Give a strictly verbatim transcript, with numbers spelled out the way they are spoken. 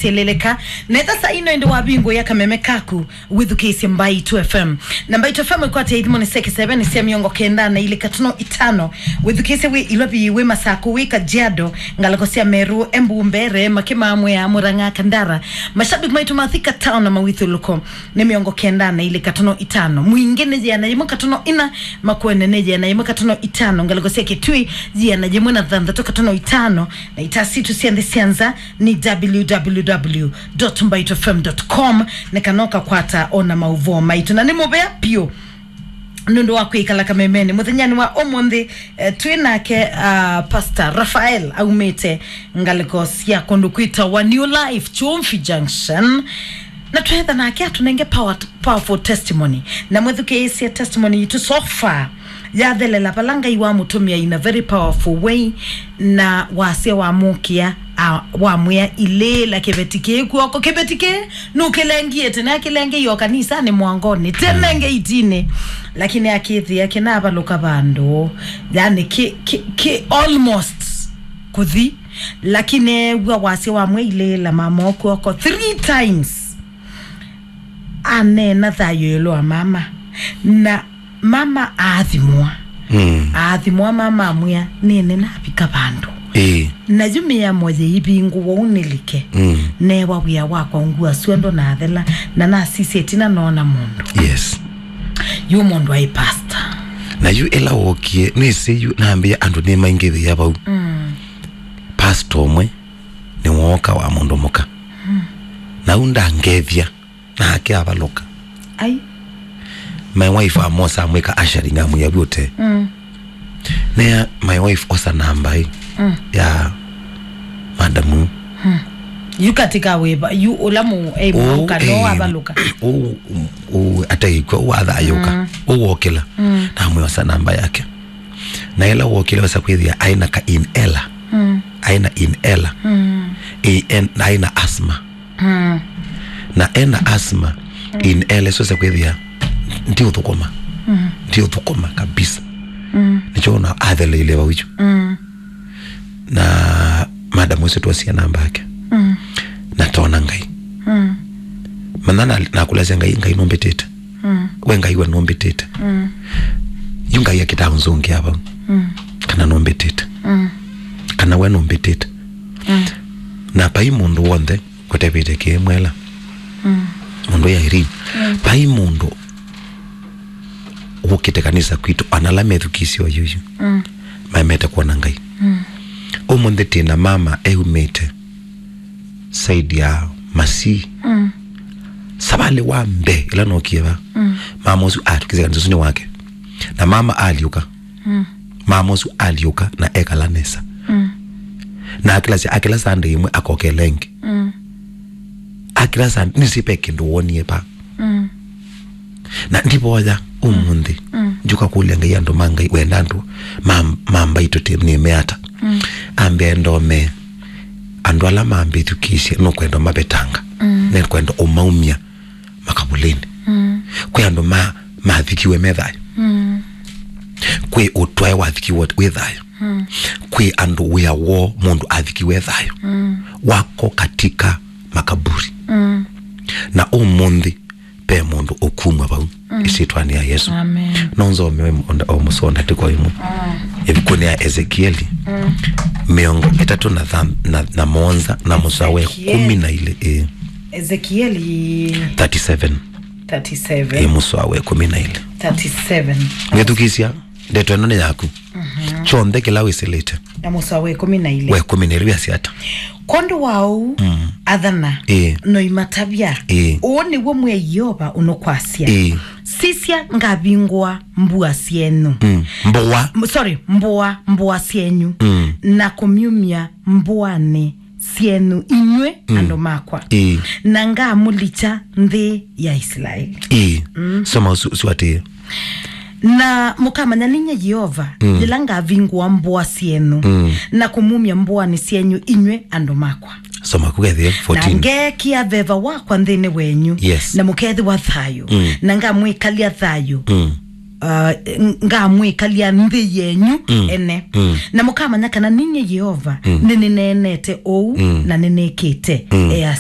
syeleleka. Nethasa ino ĩndĩ wavingũĩa kameme kaku, wĩthukĩĩsye Mbaitũ F M. Na Mbaitũ F M ĩkwatĩa ithimoni sya kĩseve nĩ sya mĩongo kenda na ilĩ katono itano. Wĩthukĩĩsye wĩ Ilovi, wĩ Masakũ, wĩ Kajiado, ngalĩko sya Meru, Embu, Mbeere, Makima, Mwea, Murang'a, Kandara. Mashabiki maitũ ma Thika Town na mawĩthyũlũlũko nĩ mĩongo kenda na ilĩ katono itano. Mwingĩ nĩ yĩana yĩmwe katono ina, Makueni nĩ yĩana yĩmwe katono itano, ngalĩko sya Kitui yĩana yĩmwe na thanthatũ katono itano, na ita sitũ sya nthĩ sya nza nĩ www.mbaitufm.com, nĩ kana ũkakwata ona maũvoo maitũ. Na nĩ mũvea piũ nũndũ wa kwĩkala kamemeni mũthenyanĩ wa ũmũnthĩ. Eh, twĩ nake, ah, Pastor Raphael aumĩte ngalĩko sya kũndũ kwĩtawa New Life, Chumvi Junction. Na twetha nake atũnenge power, powerful testimony. Na mwĩthukĩĩsye testimony yitũ so far yathelela vala Ngai wamũtũmĩa in a very powerful way, na wasya wamũkĩa, a, wamwĩa, "Ilĩĩla kĩveti kĩĩ kw'oko." Kĩveti kĩĩ nũkĩlengie tene, akĩlengeie o kanisanĩ mwangonĩ, tene ngeitini, lakini akĩthĩa kĩnavalũka vandũ, yani kĩ, kĩ, kĩ almost kũthi, lakini eew'a wasya wamwĩa, "Ilĩĩla mama o kw'oko," three times. Aneena thayũ ĩũlũ wa mama, na mama aathimwa. Mm. Aathimwa, mama amwĩa, "Nĩnĩ navika vandũ." Ĩĩ. Na yu mĩamo yĩivingũwa ũu nĩlike. Mm. Neewa wĩa wakwa, ngua syonthe nathela, na nasisya ĩtina noona mũndũ. Yes. Yu mũndũ aĩ pastor. Na yu ĩla wookie, nĩsĩ yu nambĩa andũ nĩmaingĩvĩa vau. Mm. Pastor ũmwe nĩwooka wa mũndũ mũka. Mm. Na u ndangethya. Nake avalũka. Ai. My wife amosa amwĩka ushering, amwĩa, "Vyote." Mm. Nea my wife, "Osa namba ĩ, mm, ya madamu." Mm. Yu katika wĩva, yu ũla mũ-, eh, oh, mũka no eh, avalũka. Oh, oh, ataĩkw'a, oh, athayũka. Mm. Oh, wokĩla. Mm. Namwĩa, "Osa namba yake." Na ĩla wokĩle wesa kwĩthĩa aĩ na ka inhaler. Mm. Aĩ na inhaler. Mm. Ĩ, en-, aĩ na asthma. Mm. Na ena asthma, mm, inhaler, so wesa kwĩthĩa ndiũthũkũma. Mm. Ndiũthũkũma kabisa. Mm. Nĩkyo ona atheleile vau yu. Mm. Na madam ũsu twosie namba yake. Mm. Na tona Ngai. Mm. Mana na, nakũlasya Ngai, Ngai nũmbĩtĩte. Mm. We Ngai we nũmbĩtĩte. Mm. Yu Ngai akĩtaa ũnzũngĩa vau. Mm. Kana nũmbĩtĩte. Mm. Kana we nũmbĩtĩte. Mm. Na vai mũndũ w'onthe kũtevĩte kĩĩ mwela. Mm. Mũndũ ya Irene. Mm. Vai mũndũ wũkĩte kanisa kwitũ, ona ala methukĩĩsye oyuyu. Mm. Maemete kwona Ngai. Mm. Ũmũnthĩ tĩ na mama eumĩte side ya Masii. Mm. Savalĩ wa mbee ĩla nookie va, mm, mama ũsu atũkĩsya kanisa ũsu nĩ wake. Na mama alyũka. Mm. Mama ũsu alyũka na ekala nesa. Mm. Na akĩlasya, akĩla Sunday ĩmwe akokela ĩngĩ. Mm. Akĩla Sunday, nĩsĩ ve kĩndũ wonie va. Mm. Na ndivoya ũmũnthĩ. Mm. Njũka kũlya Ngai, andũ ma Ngai, wenda andũ ma, ma Mbaitũ tĩ nĩme ata? Mm. Ambĩa ndome andũ ala mambĩthukĩĩsye, nũkwenda mavetanga. Mm. Nĩkwenda ũmaumya makavulĩnĩ. Mm. Kwĩ andũ ma, mathikiwe me thayũ. Mm. Kwĩ ũtwae wathikiwe wĩ thayũ. Mm. Kwĩ andũ wĩa woo mũndũ athikiwe e thayũ. Mm. Wako katika makaburi. Mm. Na ũmũnthĩ ve mũndũ ũkumw'a vau. Mm. Ĩsyĩtwanĩ ya Yesu. Amen. No nzome o mũsoa ndatĩko ĩmwe. Mm. Ĩvukunĩ ya Ezekieli. Mm. Mĩongo ĩtatũ na tha-, na, na mũonza na mũsoa wa Ezekieli. Kũmi na ilĩ, ĩĩ. Ezekieli. Thirty-seven. Thirty-seven. Ĩĩ, mũsoa wa kũmi na ilĩ. Thirty-seven. Wĩthukĩĩsya, ndeto ĩno nĩ yaku. Mhm. Kyonthe kĩla wĩsĩlĩte. Na mũsoa wa ĩkũmi na ilĩ. Wa ĩkũmi na ilĩ wĩasya ata? Kwondũ wa ũu, mm, athana, ĩĩ, noimatavya. Ĩĩ. Ũũ nĩw'o Mwĩai Yeova ũnũkwasya. Ĩĩ. Sisya, ngavingũa mbũa syenyu. Mm. Mbũa. M-, sorry, mbũa, mbũa syenyu. Mm. Na kũmyumya mbũanĩ syenyu inyw'ĩ, mm, andũ makwa. Ĩĩ. Na ngamũlikya nthĩ ya Isilaeli. Ĩĩ. Mm. Soma ũsu, ũsu atĩĩ. Na mũkamanya ninyie Yeova, mm, yĩla ngavingũa mbũa syenyu, mm, na kũmumya mbũanĩ syenyu inyw'ĩ andũ makwa. Soma kũkethĩa fourteen. Na ngeekĩa veva wakwa nthĩnĩ wenyu, yes, na mũkeethĩwa thayũ, mm, na ngamwĩkalya thayũ. Mm. uh, ngamwĩkalya nthĩ yenyu mm. ene mm. na mũkamanya kana ninyie Yeova mm. nĩnĩneenete ũu mm. na nĩnĩkĩte mm. easya